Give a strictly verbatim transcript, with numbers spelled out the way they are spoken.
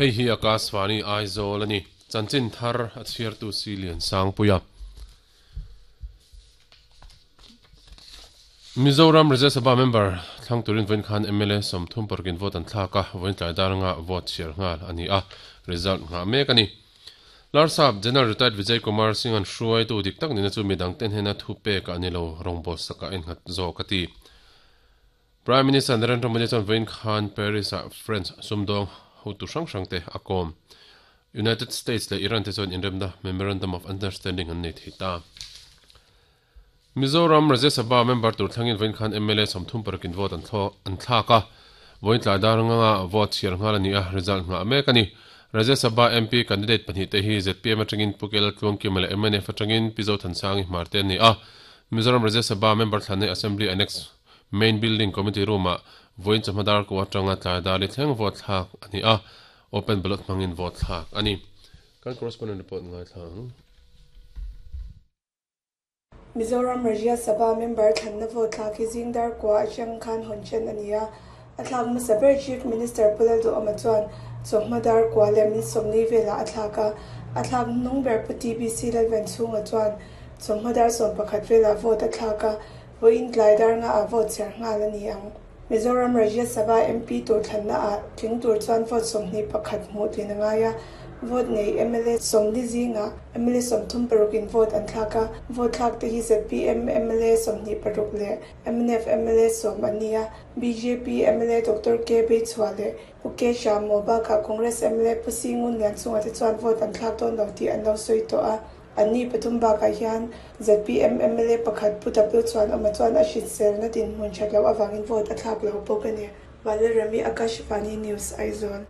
Hei hi Akashvani Aizawl ani chanchin thar a chhiartu si lian sangpuia Mizoram Rajya Sabha member thlang turin voin khan M L A somthum parkin vote an thlaka voin tlai daranga vote chhiar ngal ani a result nga mek ani Larsap General Retired Vijay Kumar Singh an hruai tu dik tak nina chu midang ten hena thu pe ka ani lo rongbol saka en ngat zo kati Prime Minister Narendra Modi chuan voin khan Paris a French sumdong hotu hrang hrang te akom United States le Iran te chuan inremna Memorandum of Understanding an nei thei ta Mizoram Rajya Sabha member tur thlangin voin khan M L A somthum parkin vote an thlo an thlaka voin tlai daranga vote chhiar ngal ani a result nga mek ani Rajya Sabha M P candidate pahnih te hi Z P M atangin Pukel Tluangkim le M N F atangin Pizo Thansangi Hmarte ani a Mizoram Rajya Sabha member thlanne Assembly Annex Main Building Committee Room a voin chawhmadar ko atanga tlai dali thleng vote thlak ani a open ballot hmangin vote thlak ani kan correspondent report ngai thlang Mizoram Rajya Sabha member thlanna vote thlak hi zingdar kwa atang khan honchen ania a thlak hmasa Chief Minister Pulal Du Ama chuan chawhmadar kwa leh min sawmli vela a thlak a a thlak hnung ber pu T B C Lalven chhunga chuan chawhmadar sawm pakhat vela vote a thlak a voin tlai dar nga a vote chhiar nghal ani ang Mizoram Rajya Sabha M P tur thlanna a tling tur chuan vote sawmhnih pakhat hmuh tlin angai a vote nei M L A sawmli zinga M L A sawmthum parukin vote an thlak a vote thlak te hi Z P M M L A sawmhnih paruk leh M N F M L A sawm ani a B J P M L A Doctor K Beichhua leh Pu K Shamo bakah Congress M L A Pu Singun lian chunga te chuan vote an thlak dawn lo tih an lo sawi tawh a anni pathum bakah hian Z P M M L A pakhat Pu W chuan awma chuan a hriselna din hmun that lo awangin vote a thlak lo bawk ani Valerami Akashvani News Aizawl.